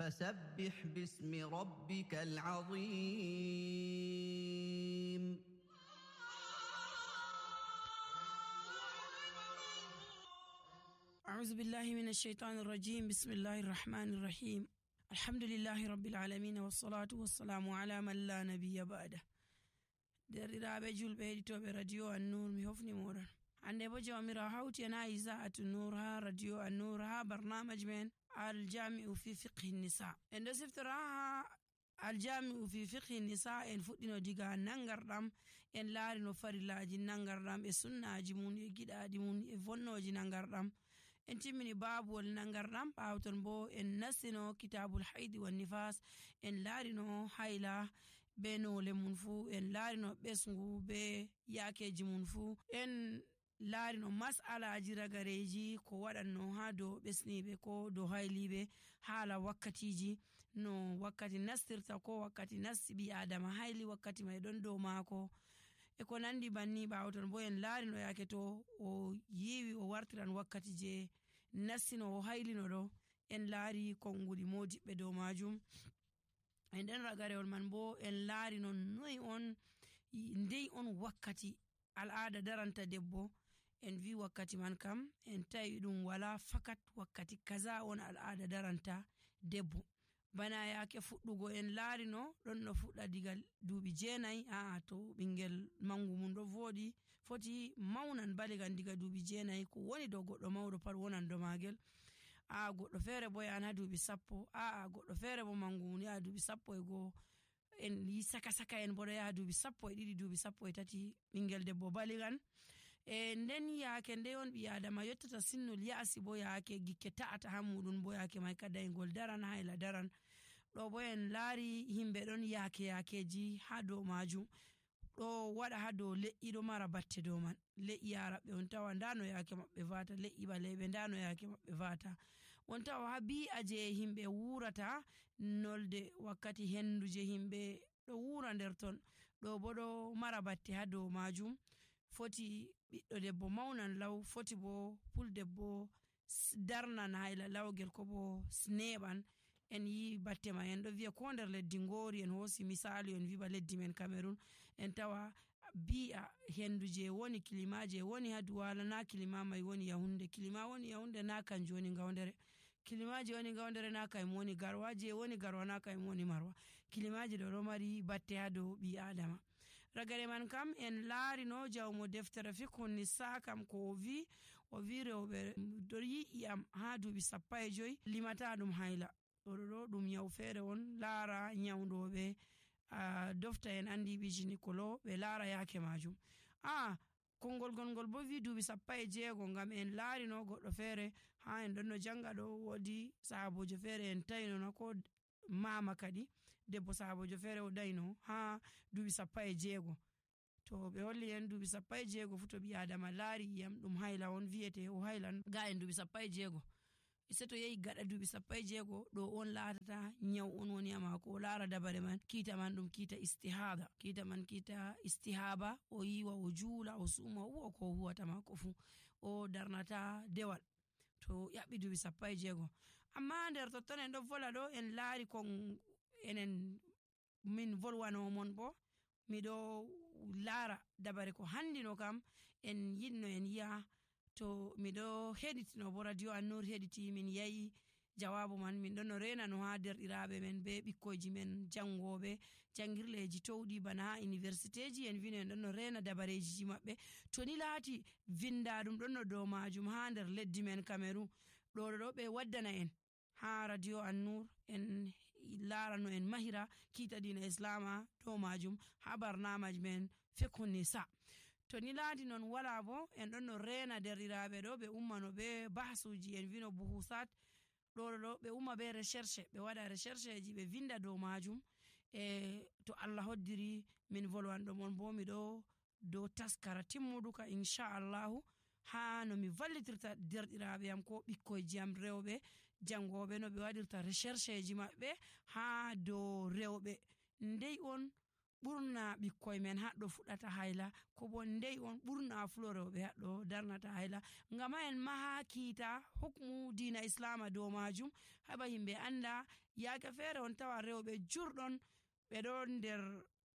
فسبح باسم ربك العظيم أعوذ بالله من الشيطان الرجيم. بسم الله الرحمن الرحيم. الحمد لله رب العالمين والصلاة والسلام على من لا نبي بعده. derɗiraɓe julɓe heɗitoɓe radio An-Nur, mi hofni moɗon. hande bo jawmirawo hawti en ha Iza'atu Nur ha radio An-Nur ha barnamaji men aljami'u fi fiqhi nisa. en ɗo siftora ha aljami'u fi fiqhi nisa. en fuɗɗino diga nangarɗam, en laari no farillaji nangarɗam e sunnaji mun e giɗaɗi mun e vonnoji nangarɗam. en timmini babuwol nangarɗam. ɓawton bo en nastino kitabul haidi wan nifas. en laarino hayla be nole mun fu, en laarino ɓesgu be yakeji mun fu, en laarino mas'alaji ragareji ko waɗanno ha dow ɓesniɓe ko dow hayliɓe, haala wakkatiji no wakkati nastirta ko wakkati nasti ɓi adama hayli wakkati mai ɗon dow maako e ko nandi banni. ɓawton bo en laarino yake to o yiwi o wartiran wakkati je nastino o haylino ɗo, en laari konguɗi modiɓɓe dow majum. e nden ragarewol man bo en laari non ndey on wakkati al'ada daranta debbo. en vi wakkati man kam en tawi ɗum wala fakat wakkati kaza on al'ada daranta debbo. bana yake fuɗɗugo en laari no ɗon no fuɗɗa diga duuɓi 9. to ɓingel mangu mum ɗo voɗi foti maunan baligan diga duuɓi 9 ko woni dow goɗɗo mawɗo pat wonan do magel. goɗɗo feere bo yahan ha duuɓi 10. goɗɗo feere bo mangu mum yaha duuɓi 11. en yi saka en bo ɗo yaha duuɓi 12, duuɓi 13 ɓingel debbo baligan. nden yaake nde on ɓi adama yottata sinnol ya'si bo yaake gikke ta'ata ha muɗum bo yaake mai kadayngol daran hayla daran. ɗo bo en laari himɓe ɗon yakeji ha dow majum ɗo waɗa ha dow le'i ɗo mara batte dow man. le'i araɓe on tawa ndano yake maɓɓe vata, le'i ɓaleɓe ndano yake maɓɓe vata. on tawa ha bi'a je himɓe wurata nolde wakkati hendu je himɓe ɗo wura nder ton ɗo bo ɗo mara batte ha dow majum. foti ɓiɗɗo debbo maunan law, foti bo puldebbo darnan hayla lawgel ko bo neɓan. en yi batte ma en ɗo viya ko nder leddi ngori, en hosi misali en viba leddi men Cameroon, en tawa bi'a hendu je woni kilima je woni ha Duwala na kilima mai woni Yahunde. kilima woni Yahunde na kanjum woni Gaundere. kilimaji woni Gaundere na kayum woni Garwa. je woni Garwa na kayum woni Marwa. kilimaji ɗo mari batte ha dow ɓi adama. ragare man kam en laari no jawmo deftere fiqhu nisa kam ko o vi rewɓe ɗo yi'iyam ha duuɓi 15 limata ɗum hayla. ɗo ɗum nyawu feere on. laara nyawɗoɓe dofta en andi bijini kolo ɓe laara yake majum. kongol gongol bo vi duuɓi 16 ngam en laari no goɗɗo feere ha en ɗon no janga ɗo wodi sahabojo feere en tayino na ko mama kadi debbo sahabojo feere o dayno ha duuɓi 16. to ɓe holli en duuɓi 16 fu to ɓi adama laari yam ɗum hayla on viyete o haylan ga en duuɓi 16. se to yehi gaɗa duuɓi 16 ɗo on laatata nyaw on woni ha mako. o laara dabare man kiita man ɗum kiita istihaba. o yiwa o juula o suma o huwa ko huwata mako fu, o darnata dewal to yaɓɓi duuɓi 16. amma nder totton en ɗo vola ɗo en laari kon enen min volwanomon bo miɗo laara dabare ko handino kam en yinno en yi'a. to miɗo heɗitino bo radio An-Nur heɗiti min yayi jawabu man. min ɗon no rena no ha derɗiraɓe men be ɓikkoji men jangoɓe jangirleji towɗi bana ha universitéji. en vino en ɗon no rena dabareji maɓɓe. to ni laati vindaɗum ɗon no dow majum ha nder leddi men Cameroon ɗo ɓe waddana en ha radio An-Nur. en larano en mahira kiita dina islama dow majum ha barnamaji men fiqhu nisa. to ni laati non wala bo en ɗon no rena derɗiraɓe ɗo ɓe ummano be bahsuji. en vino buhusat ɗo ɓe umma be recherche, ɓe waɗa recherche ji ɓe vinda dow majum. to Allah hoddiri min volwanɗo mon bo miɗo dow taskara timmuduka inchallahu ha no mi vallitirta derɗiraɓe am ko ɓikkoyji am rewɓe jangoɓe no ɓe waɗirta recherche ji maɓɓe ha dow rewɓe ndey on ɓurna ɓikkoye men haɗɗo fuɗata hayla, ko bo ndey on ɓurna fulorewɓe haɗɗo darnata hayla. Ngam ha en maha kiita hukmu dina islama dow majum, haba himɓe anda yaake feere on tawa rewɓe jurɗon ɓe ɗon nder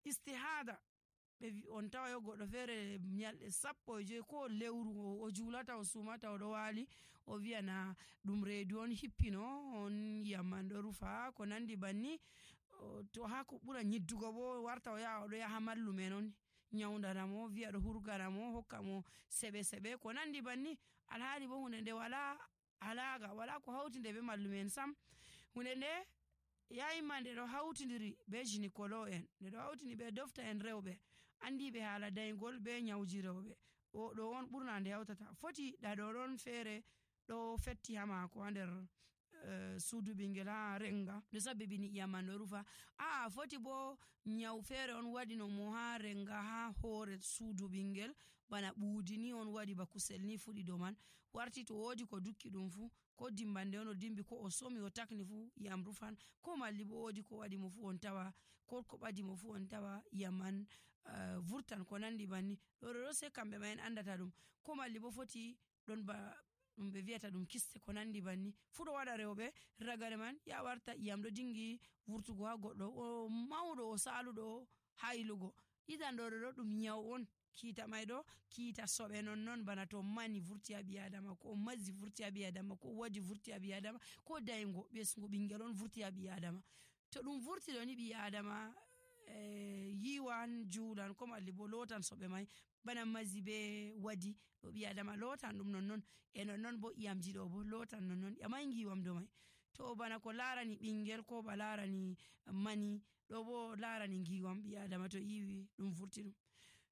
istihada, on tawa yo goɗɗo feere nyalɗe 15 ko lewru o julata o sumata o ɗo waali, o wiyana ɗum reedu on hippino on yamman ɗo rufa ko nandi banni. To ha ko ɓura nyiddugo bo warta o yaha o ɗo yaha mallumen on nyaudanamo, wiya ɗo hurganamo, hokka mo seɓe ko nandi banni. Alhaali bo hunde nde wala alaga, wala ko hauti nde be mallumen sam. Hunde nde yayima nde ɗo hautidiri be gynécologue en, nde ɗo hautini be dofta en rewɓe andiɓe haala daygol be nyawji rewɓe. Ɗo on ɓurna nde hautata. Foti ɗaɗo ɗon feere ɗo fetti ha mako ha nder suudu ɓingel ha renga ɗo sabbibini iyam man ɗo rufa. Foti bo nyaw feere on waɗino mo ha renga ha hoore suudu ɓingel, bana ɓuudi ni on waɗi ba kusel ni fuɗi dow man, warti to wodi ko dukki ɗum fu, ko dimbande on o dimbi, ko o somi o takni fu iyam rufan, ko malli bo wodi ko waɗi mo fu on tawa, ko ɓadi mo fu on tawa iyam man vurtan ko nandi banni. Ɗo sai kamɓe ma en andata ɗum. Ko malli bo foti ɗon ba ɗum ɓe wiyata ɗum kiste ko nandi banni fu ɗo waɗa rewɓe ragare man ya warta iyam ɗo dingi vurtugo ha goɗɗo, o mauɗo o saluɗo hailugo. Idan ɗo ɗum nyaw on. Kiita mai ɗo kiita soɓe non bana to mani vurti ha ɓi adama, ko mazzi vurti ha ɓi adama, ko waji vurti ha ɓi adama, ko daygo ɓesgu ɓingel on vurti ha ɓi adama. To ɗum vurti ɗo ni ɓi adama yiwan juulan, ko malli bo lotan soɓe mai bana mazzi be wadi ɗo ɓi adama lotan ɗum nonnon, e nonnon bo iyamji ɗo bo lotan nonnon, ƴamai giwam do mai. To bana ko larani ɓingel ko ba larani mani ɗo bo larani giwam ɓi adama to yiwi ɗum vurti ɗum.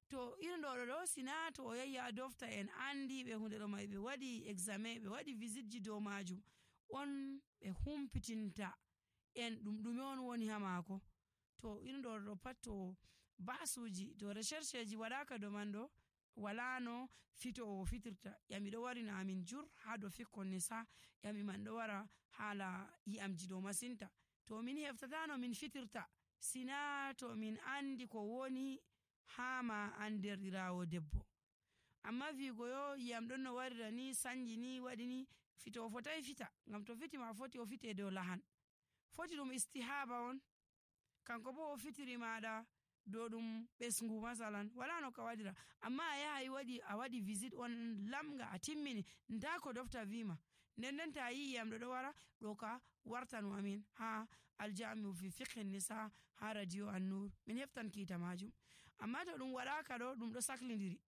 To irin ɗo sina to o yahi ha dofta en andi ɓe hunde ɗo mai, ɓe waɗi examen, ɓe waɗi visit ji dow majum, on ɓe humpitinta en ɗum ɗume on woni ha mako. To irin ɗo pat to basuji, to recherche ji waɗaka dow man ɗo, wala no fitowo fitirta. Ƴami ɗo warina amin jur ha dow fikkon nisa, ƴami man ɗo wara hala iyamji ɗo masinta. To min heftata no min fitirta, sina to min andi ko woni hama an derɗirawo debbo. Amma vigo yo iyam ɗon no warira ni sanji ni waɗi ni, fito o fotai fita, ngam to fiti ma foti o fite dow lahan, foti ɗum istihaba on. Kanko bo o fitiri maɗa dow ɗum ɓesgu masalan, wala no ka waɗira. Amma a yaha a waɗi visit on lamga a timmini, nda ko dofta vima, nden ta yi iyam ɗo wara ɗo ka wartanu amin ha aljami'u fi fiqhin nisa ha radio An-Nur, min heftan kiita majum. Amma to ɗum waɗaka ɗo ɗum ɗo saklidiri,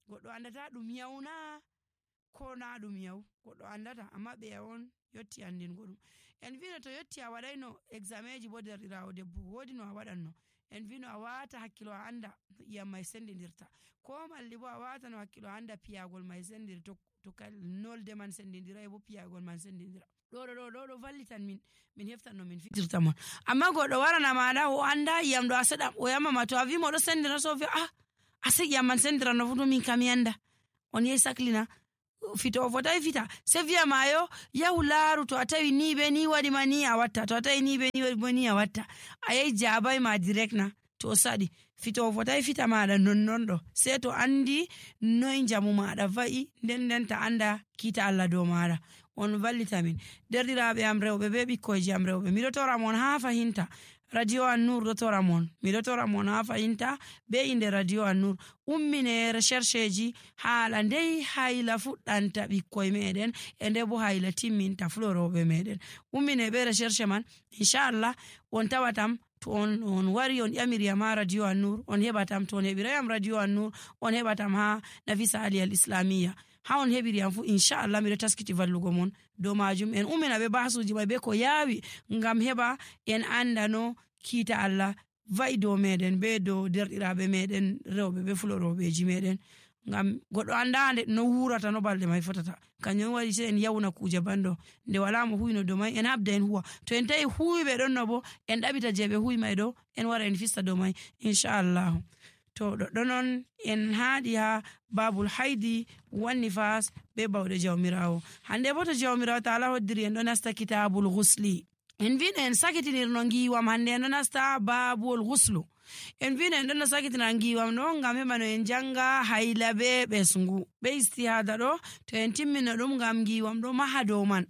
goɗɗo andata ɗum yauna ko na ɗum yaw, goɗɗo andata. Amma ɓe on yotti andingo ɗum. En vino to yotti a waɗayno examenji bo derɗirawo debbo, wodi no a waɗanno. En vino a wata hakkilo a anda iyam mai sendidirta, ko malli bo a wata no hakkilo a anda piyagol mai sendiri, to nolde man sendidirai bo piyagol man sendidira. ɗo vallitan min heftan no min fitirta mon. Amma goɗɗo warana maɗa o anda iyam ɗo a seɗam, o yamama to a vimo ɗo sendira, so vi ase iyam man sendira no fu to min kam yanda, on yehi saklina fito o fotai fita, se viya mayo yahu laaru, to a tawi ni be ni waɗi ma ni a watta, to a tawi ni be ni waɗi ma ni a watta, a yehi jabai ma direct na, to saɗi fito o fotai fita maɗa nonnon ɗo, se to andi noy jamu maɗa va'i, nden ta anda kiita Allah dow maɗa. On vallita min derɗiraɓe am rewɓe be ɓikkoyji am rewɓe, miɗo tora mon ha fahinta radio An-Nur ɗo tora mon, miɗo tora mon ha fahinta be inde radio An-Nur. Ummine recherche ji haala ndey hayla fuɗɗanta ɓikkoye meɗen, e nde bo hayla timminta fuloroɓe meɗen. Ummine be recherche man, inchallah on tawatam to on wari on ƴamiriyam ha radio An-Nur, on heɓatam. To on heɓirayam radio An-Nur, on heɓatam ha Nafisa Ali al Islamiyya. Ha on heɓiriyam fu inchallah miɗo taskiti vallugo mon dow majum. En ummina be basuji mai be ko yawi, ngam heɓa en anda no kiita Allah va'i dow meɗen be dow derɗiraɓe meɗen rewɓe be fuloroɓeji meɗen. Ngam goɗɗo andande no wurata no balɗe mai fotata, kanjum waɗi se en yawna kuje banɗo, nde wala mo huyno dow mai en habda en huwa. To en tawi huwiɓe ɗon no bo en ɗaɓita je ɓe huwi mai ɗo, en wara en fista dow mai inchallah. To ɗoɗɗo non en haaɗi ha babul haidi wanni fas be bawɗe jawmirawo. Hande bo to jawmirawo taala hoddiri en ɗo nasta kitabul ghusli. En vino en sakitinirno giwam, hande en ɗo nasta babul ghuslu. en vino en ɗon sakitina ngiwam ɗo ngam heɓa no en janga hayla be ɓesngu be istihada ɗo to en timmino ɗum ngam ngiwam ɗo maha dow man.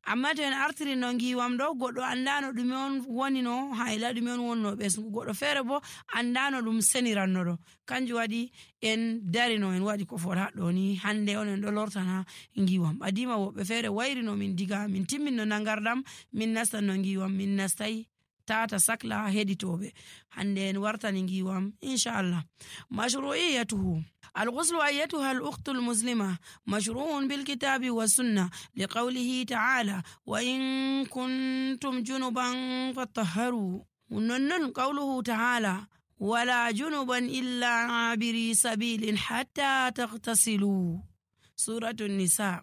Amma to en artiri no ngiwam ɗo goɗɗo andano ɗume on woni no hayla, ɗume on woni no ɓesngu, goɗɗo feere bo andano ɗum seniranno ɗo. Kanjum waɗi en darino en waɗi ko fot haɗɗo ni hande on en ɗo lortana ngiwam. Adima woɓɓe feere wayrino min diga min timmin no nangarɗam min nastan no ngiwam min nastai tata sakla heɗitoɓe. Hande en wartani ngiwam inchallah. Mashru'iyatuhu الغسل أيتها الأخت المسلمة مشروع بالكتاب والسنة لقوله تعالى وإن كنتم جنبا فطهروا ونن قوله تعالى ولا جنبا إلا عابري سبيل حتى تغتسلوا سورة النساء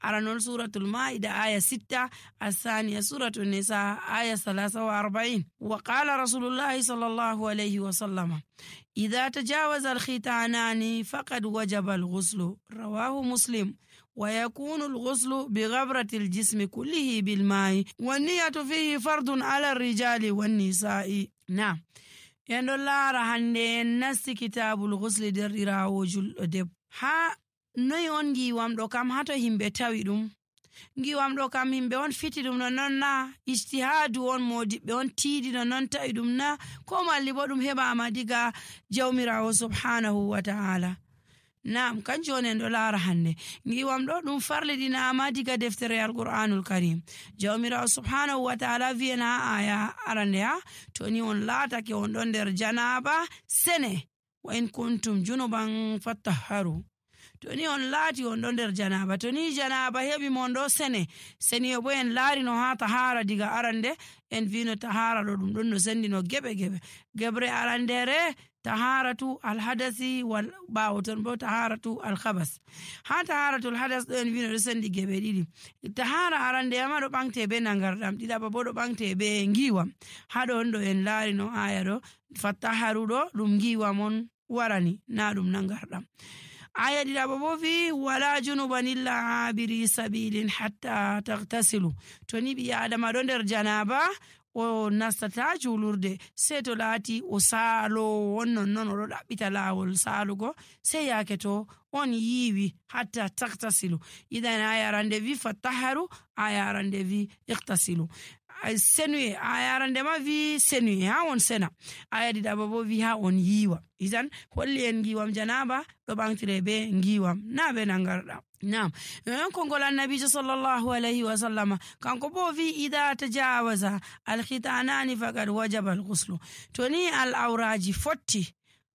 أرنول سورة المائدة آية 6 الثانية سورة النساء آية 43 وقال رسول الله صلى الله عليه وسلم إذا تجاوز الختانان فقد وجب الغسل رواه مسلم ويكون الغسل بغبرة الجسم كله بالماء والنية فيه فرض على الرجال والنساء. نعم يندلا رهندي نست كتاب الغسل در وجل دب ها noy on ngiwam ɗo kam hato himɓe tawi ɗum ngiwam ɗo kam himɓe on fiti ɗum no non na ijtihadu on modiɓɓe on tiidi no non tawi ɗum na ko malli bo ɗum heɓama diga jawmirawo subhanahu wa ta'ala. Naam kanjum on en ɗo laara hande ngiwam ɗo ɗum farliɗinama diga deftere alqur'anul karim. Jawmirawo subhanahu wa ta'ala wi'en ha aya arande ha to ni on laatake on ɗon nder janaba sene wa in kuntum junuban fattaharu. To ni on laati on ɗo nder janaba, to ni janaba heɓi mon ɗo seni bo en laari no ha tahara diga arande en vino tahara ɗo ɗum ɗon no sendi no gebre arandere taharatu alhadasi wal ɓawo ton bo taharatu alkhabas. Ha taharatu alhadas ɗo en vino ɗo sendi geɓe ɗiɗi. Tahara arande ma ɗo ɓangte be nangarɗam, ɗiɗaɓa bo ɗo ɓangte be ngiwam. Ha ɗon ɗo en laari no aya ɗo fattaharu ɗo ɗum ngiwam on warani na ɗum nangarɗam. aya ɗiɗaɓa bo wi wala junuban illa abiri sabilin hatta tagtasilu. To ni ɓi adama ɗo nder janaba o nastata julurde sei to laati o saalo on non oɗo ɗaɓɓita laawol saalugo sei yake to on yiwi hatta tagtasilu. idan aya arande wi fattaharu, aya arande wi iktasilu. Senuye aya arande ma wi senuye ha on sena, aya ɗiɗaɓa bo wi ha on yiwa. idan holli en ngiwam janaba ɗo ɓantire be ngiwam na be nangarɗam. Naam non kongol annabijo sallallahu alayhi wa sallama kanko bo wi ida tajawaza alkhitanani faqad wajaba alghuslu. To ni al'auraji fotti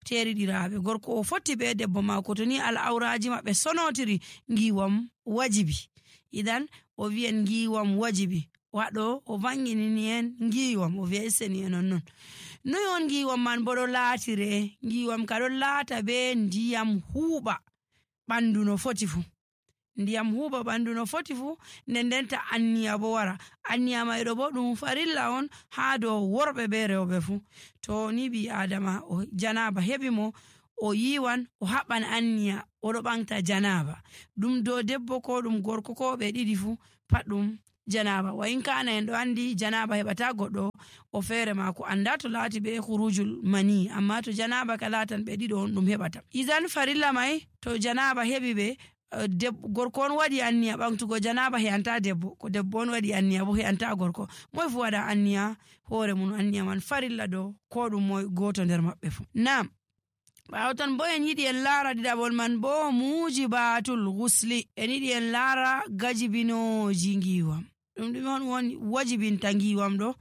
teriɗiraɓe gorko o fotti be debbo mako, to ni al'auraji maɓɓe sonotiri ngiwam wajibi. idan o wi'en ngiwam wajibi waɗo o vanginini en ngiwam o wi'a seni en non. Noy on ngiwam man bo ɗo laatire? Ngiwam ka ɗo laata be ndiyam huuɓa ɓandu no foti fu. Ndiyam huuɓa ɓandu no foti fu ndenta anniya bo wara. Anniya mai ɗo bo ɗum farilla on ha dow worɓe be rewɓe fu. To ni ɓi adama o janaba heɓi mo o yiwan o haɓɓan anniya oɗo ɓangta janaba, ɗum dow debbo ko ɗum gorko ko ɓe ɗiɗi fu pat ɗum janaba. Wa in kana en ɗo andi janaba heɓata goɗɗo o feere mako anda to laati be khurujul mani, amma to janaba ka laatan ɓe ɗiɗo on ɗum heɓata. idan farilla mai to janaba heɓi ɓe gorko on waɗi anniya ɓangtugo janaba he'anta debbo, ko debbo on waɗi anniya bo he'anta gorko. Moy fu waɗa anniya hoore mun, anniya man farilla dow ko ɗum moy goto nder maɓɓe fu. Naam ɓawo ton bo en yiɗi en laara ɗiɗaɓol man bo mujibatul ghusli, en yiɗi en laara gajibinoji ngiwam. ɗum ɗume on woni wajibinta ngiwam ɗo?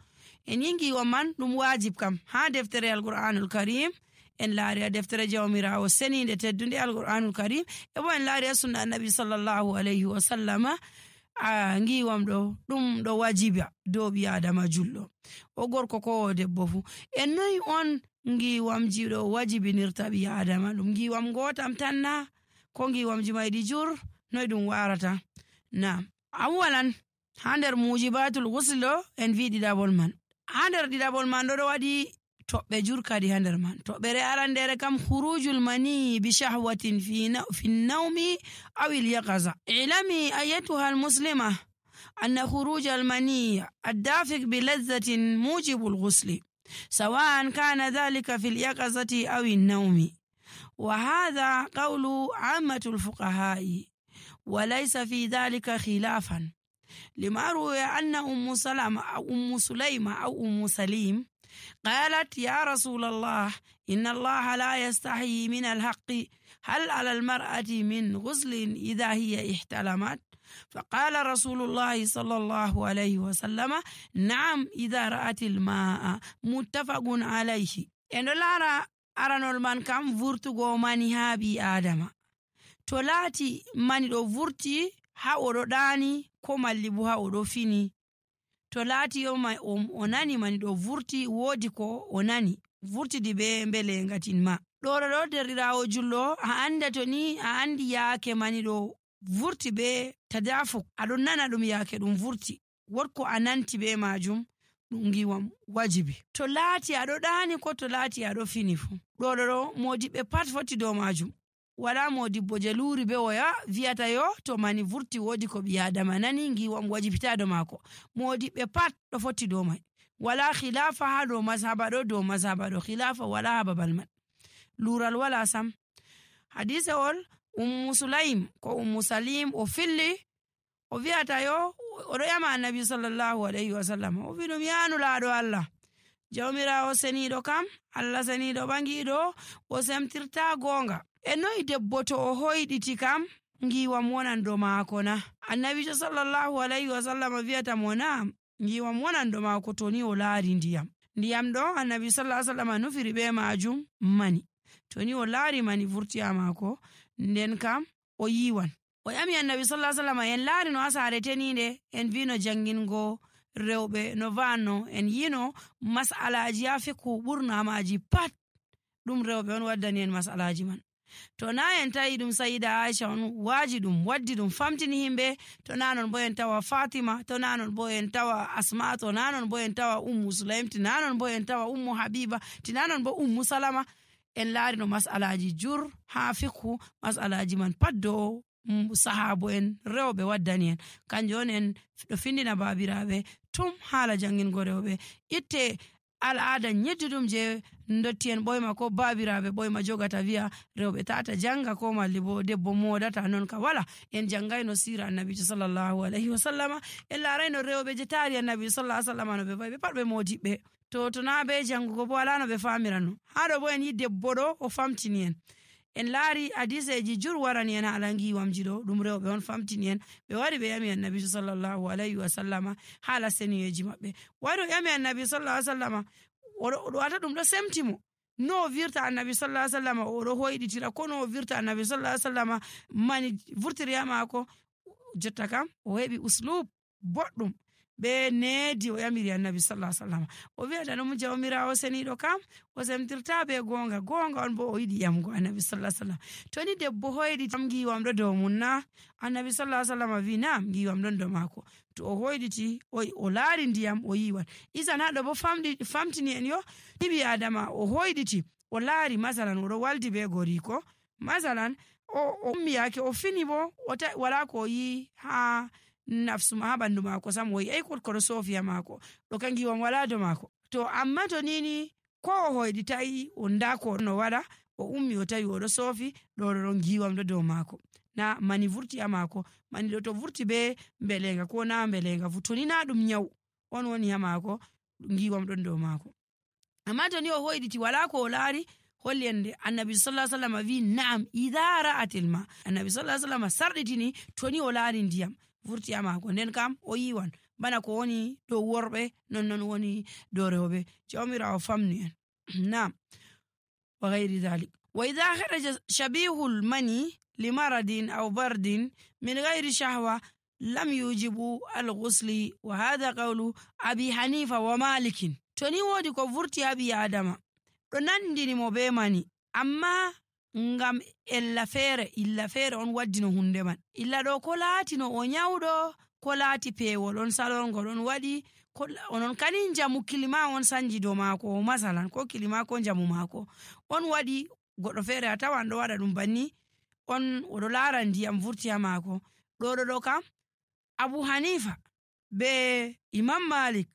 En yi ngiwam man ɗum wajib kam ha deftere alqur'anul karim en laari a deftere jawmirawo seninde teddunde alqur'anul karim, e bo en laari a sunna annabi sallallahu alayhi wa sallama. Ngiwam ɗo ɗum ɗo wajiba dow ɓi adama julɗo o gorko ko o debbo fu. En noyi on ngiwamji ɗo wajibinirta ɓi adama? ɗum ngiwam gotam tan na ko ngiwamji mayɗi jur? noy ɗum warata? Na awalan ha nder mujibatul ghusl ɗo en vi ɗiɗaɓol man. Ha nder ɗiɗaɓol man ɗo waɗi toɓɓe jur kadi ha nder man. toɓɓere arandere kam khurujul mani bi shahwatin fi nawmi aw al yaqaza. ilami ayatuha al muslima أن خروج المني الدافق بلذة موجب الغسل. سواء كان ذلك في اليقظة أو النوم. وهذا قول عامة الفقهاء وليس في ذلك خلافا، لما روي أن أم سليمة أو أم سليم قالت: يا رسول الله، إن الله لا يستحيي من الحق، هل على المرأة من غسل إذا هي احتلمت؟ فقال رسول الله صلى الله عليه وسلم: نعم إذا رأت الماء. متفق عليه. endo lara aranol man kam vurtugo mani ha bi adama, to laati mani ɗo vurti ha oɗo ɗani ko malli bo ha oɗo fini, to laati o nani mani ɗo vurti, woodi ko o nani vurtidi be mbelengatin ma, ɗo derɗirawo julɗo, a anda to ni a andi yaake mani ɗo vurti be tadafuk, aɗon nana ɗum yaake ɗum vurti, wotko a nanti be majum, ɗum giwam wajibi. To laati aɗo ɗani ko to laati aɗo fini fu, ɗo modiɓɓe pat foti dow majum. wala modibbo je luri be woya viyata yo to mani vurti wodi ko ɓi adama nani giwam wajibita do mako. Modiɓɓe pat ɗo foti dow mai, wala khilafa ha dow mazhaba ɗo khilafa wala ha babal man, lural wala sam. Hadise ol Sulaim ko Salim o filli o viyata yo oɗo yama annabi sallallahu alaihi wasallam, o wi ɗum yanu laaɗo Allah, jawmirawo seniɗo kam, Allah seniɗo ɓangiɗo, o semtirta gonga. E noyi debbo to o hoyɗiti kam giwam wonan do maako na? Annabijo sallallahu alaihi wasallam viyata mo na, giwam wonan do maako to ni o laari ndiyam ɗo annabi sallallahu alaihi wasallam nufiri be majum mani, to ni o laari mani vurti ha maako nden kam o yiwan. O yami annabi sallallahu alaihi wasallam, en laari no ha saare teninde en vino jangingo rewɓe no vanno en yino mas'alaji ha fiqhu ɓurna maji pat ɗum rewɓe on waddani en mas'alaji man. To na en tawi ɗum Sayyida Aisha on waji ɗum waddi ɗum famtini himɓe, to na non bo en tawa Fatima, to na non bo en tawa Asma, to na non bo en tawa Sulaim, to na non bo en tawa Habiba, to na non bo Salama. En laari no mas'alaji jur ha fiqhu, mas'alaji man pat do sahabo en rewɓe waddani en, kanjum on en ɗo findina babiraɓe tum haala jangingo rewɓe, itte al'ada nyedduɗum je dotti en ɓoyma ko babiraɓe ɓoyma jogata viya rewɓe tata janga ko malli bo debbo modata non ka wala. En jangayno sira annabijo sallallahu alaihi wasallama, en larayno rewɓe je taari annabijo sallallahu alaihi wasallama no ɓe fayi ɓe pat ɓe modiɓɓe, to na be jangugo bo wala no ɓe famirano. Haɗo bo en yi debbo ɗo o famtini en laari hadiseji jur warani en haala giwamji ɗo ɗum rewɓe on famtini en, ɓe wari ɓe yami annabi sallallahu alaihi wasallama haala seniyeji maɓɓe, wari o yami annabi sallallahu alaihi wasallama oɗo wata ɗum ɗo semtimo no o virta annabi sallallahu alaihi wasallama oɗo hoyɗitira ko no o virta annabi sallallahu alaihi wasallama mani vurtiri ha maako. Jotta kam o heɓi uslub boɗɗum be needi o yamiri annabi sallallahu alaihi wasallam, o wi'ata ɗum jawmirawo seniɗo kam o semtirta be gonga on bo o yiɗi yamgo annabi sallallahu alaihi wasallam. To ni debbo hoyɗi tam giwam ɗo dow mun na? Annabi sallallahu alaihi wasallam wi na, giwam ɗon dow mako. To o hoyɗiti o laari ndiyam o yiwan. Isan haɗo bo famtini en yo hiɓi adama o hoyɗiti o laari masalan oɗo waldi be goriko masalan o ummi yake o fini bo wala ko yi ha nafsu ma ha bandu mako sam, o yi ko ɗo sofiya mako ɗo kan giwam wala do mako. To amma to nini ko o hoyɗitayi o ndako no waɗa, o ummi o tawi oɗo sofi ɗon giwam ɗo dow mako, na mani vurti ha mako. Mani ɗo to vurti be mbelenga ko na mbelenga fu, to ni na ɗum nyaw on woni ha mako, giwam ɗon dow mako. Amma to ni o hoyɗiti wala ko o laari, holli ende annabi sallallahu alaihi wasallam wi na'am idha ra'atil ma, annabi sallallahu alaihi wasallam sarditini to ni o laari ndiyam vurti ha mako nden kam o yiwan, bana ko woni dow worɓe non woni dow rewɓe. Jawmirawo famni en. Na'am wa ghairi dhalik. Wa idha kharaja shabihul mani limaradin aw bardin min ghairi shahwa lam yujibu al-ghusli, wa hadha qawlu Abi Hanifa wa Malikin. To ni wodi ko vurti ha ɓi adama ɗo nandini mo be mani, amma ngam illa feere on waddino hunde man. Illa ɗo ko laatino o nyawɗo, ko laati peewol on salongol on waɗi, onon kani jamu kilima on sanji dow maako masalan, ko kilima ko jamu maako on waɗi. Goɗɗo feere a tawan ɗo waɗa ɗum banni, on oɗo laara ndiyam vurti ha maako. ɗo kam Abu Hanifa be Imam Malik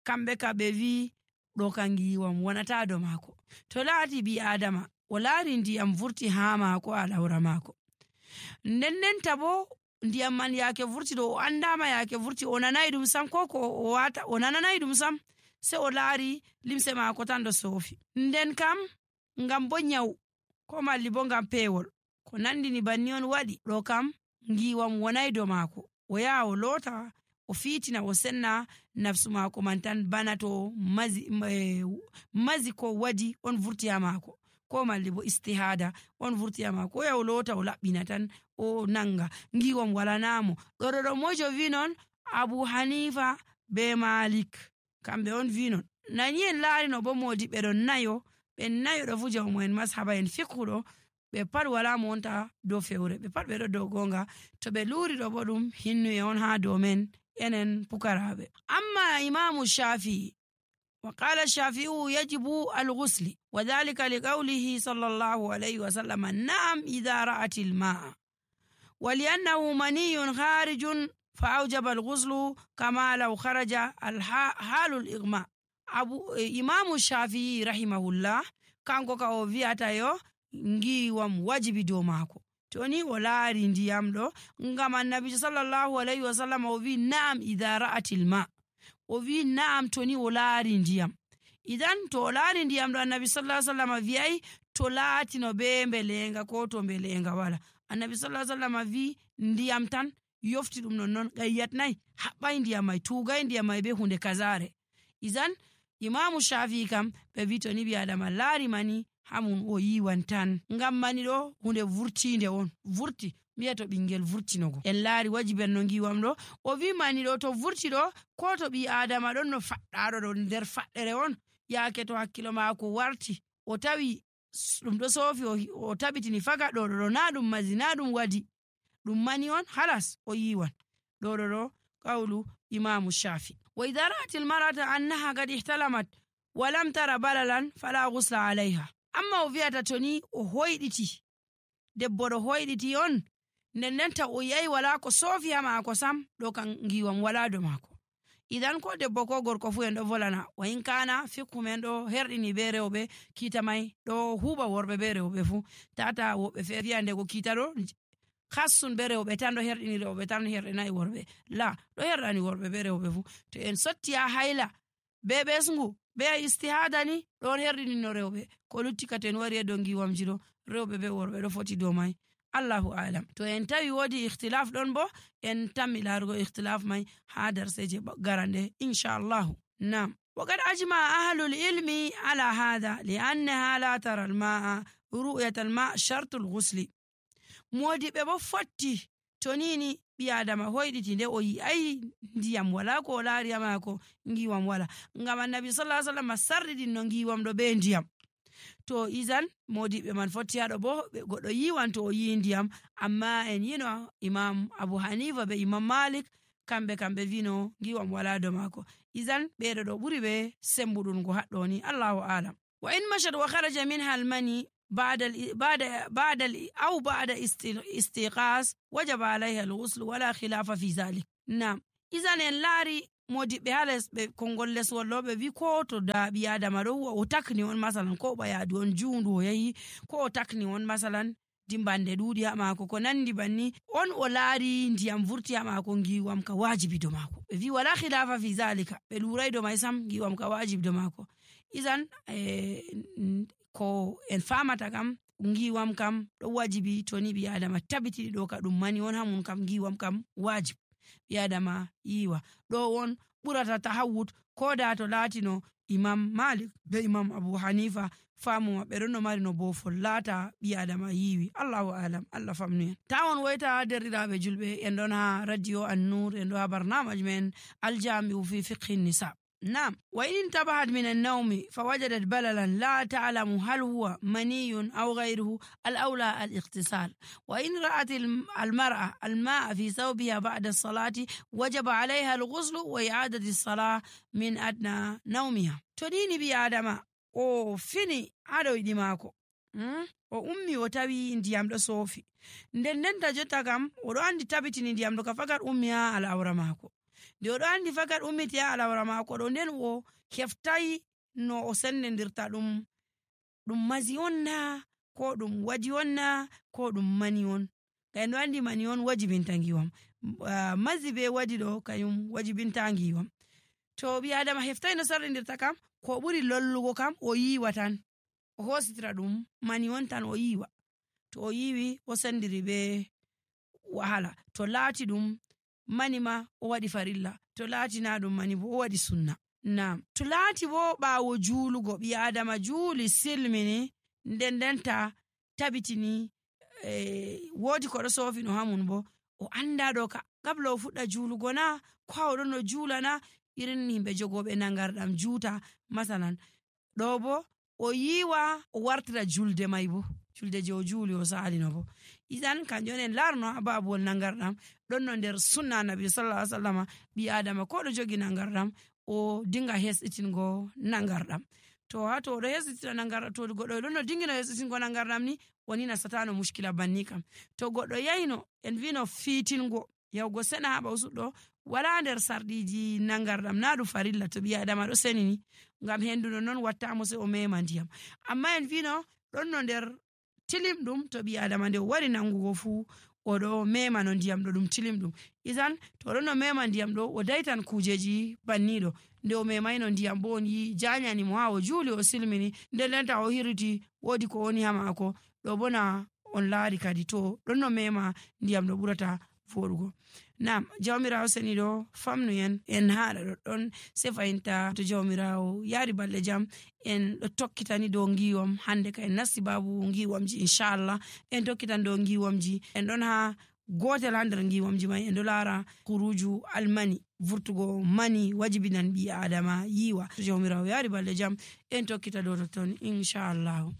kamɓe ka ɓe wi ɗo kan ngiwam wonata do maako. To laati bi adama o laari ndiyam vurti haa maako alawra maako, ndendenta bo ndiyam man yaake vurti ɗo o andama yaake vurti o nanay ɗum sam, ko o nananay ɗum sam, sai o laari limse maako tan ɗo soofi. Nden kam ngam bo nyawu ko malli bo ngam peewol ko nandini banni on waɗi, ɗo kam ngiwam wonay do maako. O yaha o loota, o fiitina, o senna nafsu maako man tan, bana to mazi ko wadi on vurti ha maako, ko malli bo istihada on vurti ha maako. O yaha o loota, o laɓɓina tan, o nanga ngiwam walanamo. ɗo mojo vi non Abu Hanifa be Malik, kamɓe on vi non. Nani en laari no bo modi ɓe ɗon nayo, ɓe nayo ɗo fu jawmo en mashaba en fiqhu ɗo, ɓe pat wala mo wonta dow fewre, ɓe pat ɓe ɗo dow gonga. To ɓe luuri ɗo bo ɗum hinnuye on ha dow men enen pukaraɓe. Amma imamu Shafi'i وقال الشافعي يجب الغسل وذلك لقوله صلى الله عليه وسلم نعم إذا رأت الماء ولأنه مني خارج فأوجب الغسل كما لو خرج حال الإغماء. إمام الشافعي رحمه الله kanko ka o wi'ata yo ngiwam wajibi dow maako toni o laari ndiyam ɗo, ngam annabijo sallallahu alayhi wa sallam o wi na'am idha ra'atil ma, o wi na'am toni o laari ndiyam. Idan to o laari ndiyam ɗo annabi sallallahu alayhi wa sallam wi'ay to laatino be mbelenga ko to mbelenga wala. Annabi sallallahu alayhi wa sallam wi ndiyam tan yofti ɗum non gayyatnay, haɓɓay ndiyam may, tugay ndiyam may be hunde kazare. Idan imamu Shafi'i kam ɓe wi to ni bi adama laari mani hamun o yiwan tan, ngam mani ɗo hunde vurtinde on, vurti mbiya to ɓingel vurtinogo en laari wajiben no ngiwam ɗo. O wi mani ɗo to vurti ɗo, ko to ɓi adama ɗon no faɗɗaɗo ɗo nder faɗɗere on, yaake to hakkilo maako warti o tawi ɗum ɗo soofi, o tabitini faga ɗo na ɗum mazi, na ɗum wadi, ɗum mani on, halas o yiwan. ɗo qawlu imamu Shafi. Wa idha ra'at al-mar'ata annaha qad ihtalamat wa lam tara balalan fala ghusla 'alayha. Amma o wi'ata toni o hoyditi, debbo ɗo hoyditi on, ndendenta o yayi wala ko soofi ha maako sam, ɗo kan ngiwam wala do maako. Idan ko debbo ko gorko fu en ɗo volana, wa in kana fiqhu men ɗo herɗini be rewɓe, kiita may ɗo huuɓa worɓe be rewɓe fu, tata woɓɓe feere wi'a ndego kiita ɗo khassun be rewɓe tan ɗo herɗini rewɓe tan herɗinayi worɓe, la ɗo herɗani worɓe be rewɓe fu. To en sotti ha hayla be ɓesngu be istihada ni ɗon herɗini no rewɓe, ko lutti ka to en wari do ngiwamji ɗo rewɓe be worɓe ɗo foti dow may. Allahu alam. To en tawi wodi ikhtilaf ɗon bo en tammi larugo ikhtilaf may ha darseje garande inshallah. Nam. وقد أجمع أهل العلم على هذا لأنها لا ترى الماء رؤية الماء شرط الغسل. modiɓe bo fotti tonini ɓi adama hoyditi nde o yi ay ndiyam wala ko o laari ha maako ngiwam wala, ngam annabi sallallahu alaihi wasallam sarridin no ngiwam ɗo be ndiyam. To izan modiɓe man fotti haɗo bo goɗɗo yiwan to o yi ndiyam, amma en yino imam Abu Hanifa be imam Malik kamɓe vino ngiwam wala do maako. Izan ɓeɗo ɗo ɓuri ɓe sembuɗungo haɗɗo ni, Allahu alam. Wa in mashat wa kharaja minha al-mani بعد استيقاظ وجب عليها الغسل ولا خلاف في ذلك. نعم. إذن en laari modiɓɓe hales ɓe kongol leswol ɗo ɓe wi ko to da ɓi adama ɗo o takni on masalan, ko ɓayadu on juundu o yahi, ko o takni on masalan dimbande ɗuuɗi ha maako ko nandi banni, on o laari ndiyam vurti ha maako, ngiwam ka wajibi do maako. ɓe wi wala khilafa fi zalika, ɓe luuray do may sam, ngiwam ka wajibi do maako. Izan ko en famata kam ngiwam kam ɗo wajibi to ni ɓi adama tabiti ɗo ka ɗum mani on hamun kam ngiwam kam wajib ɓi adama yiwa. ɗo on ɓurata tahawud ko da to laatino imam Malik be imam Abu Hanifa famu maɓɓe ɗon no mari no bofol laata ɓi adama yiwi. Allahu alam. Allah famnu en. Tawon woyta derɗiraɓe julɓe, en ɗon ha radio An-Nur, en ɗo ha barnamaji men Al-Jami'u fi fiqhi nisa. نعم. وإن انتبهت من النوم فوجدت بللا لا تعلم هل هو مني أو غيره، الأولى الاغتسال. وإن رأت المرأة الماء في ثوبها بعد الصلاة وجب عليها الغسل وإعادة الصلاة من أدنى نومها. تديني بي آدم o fini haɗo yiɗi maako, o ummi o tawi ndiyam ɗo soofi, ndendenta jotta kam oɗo andi tabitini ndiyam ɗo ka fakat ummi ha al'aura maako. nde oɗo andi fakat ummiti ha al'aura maako ɗo, nden o heftayi no o sendendirta ɗum mazi on na ko ɗum waji on na ko ɗum mani on. En ɗo andi mani on wajibinta ngiwam, mazi be waji ɗo kayum wajibinta ngiwam. To ɓi adama heftai no sarrindirta kam, ko ɓuri lollugo kam o yiwa tan, o hositira ɗum mani on tan o yiwa. To o yiwi o sendiri be wahala. To laati ɗum mani ma o waɗi farilla, to laati na ɗum mani bo o waɗi sunna. To laati bo ɓaawo juulugo ɓi adama juuli silmini ndendenta tabitini woodi ko ɗo soofino hamun bo o anda ɗo gabla o fuɗɗa juulugo na ko o ɗon no juula na, irin himɓe jogoɓe nangarɗam juuta masalan ɗo bo o yiwa o wartira julde mai bo julde je o juuli o salino bo. Idan kanjum en larno ha babuwol nangarɗam ɗon no nder sunna annabi sallallahu alaihi wasallam ɓi adama ko ɗo jogi nangarɗam o dinga hesɗitingo nangarɗam. To ha to ɗo hesɗitira nangarɗam, to goɗɗo ɗon no dingino hesɗitingo nangarɗam ni woni nasatano mushkila banni kam. To goɗɗo yahino en vino fiitingo yahugo sena ha ɓawsuɗɗo wala nder sarɗiji nangarɗam na ɗum farilla to ɓi adama ɗo senini ngam henduno non wattamo sai o mema ndiyam. Amma en vino ɗon no nder tilimɗum to ɓi adama nde o wari nangugo fu oɗo mema no ndiyam ɗo ɗum tilimɗum. Idan to ɗon no mema ndiyam ɗo o daitan kujeji banniɗo, nde o memaino ndiyam bo on yi janyani mo ha o juuli o silmini ndendenta o hiriti woodi ko woni ha mako ɗo bona on laari kadi to ɗon no mema ndiyam ɗo ɓurata voɗugo. Jawmirawo seniɗo famnuyen en haɗa ɗoɗɗon sei fayinta to jawmirawo yaari balɗe jam en ɗo tokkitani dow ngiwam. Hande ka en nasti babu ngiwamji inchallah en tokkitan dow ngiwamji. En ɗon ha gotel ha nder ngiwamji mai en ɗo laara huruju almani, vurtugo mani wajibinan ɓi adama yiwa. To jawmirawo yaari balɗe jam en tokkita dow totton inchallahu.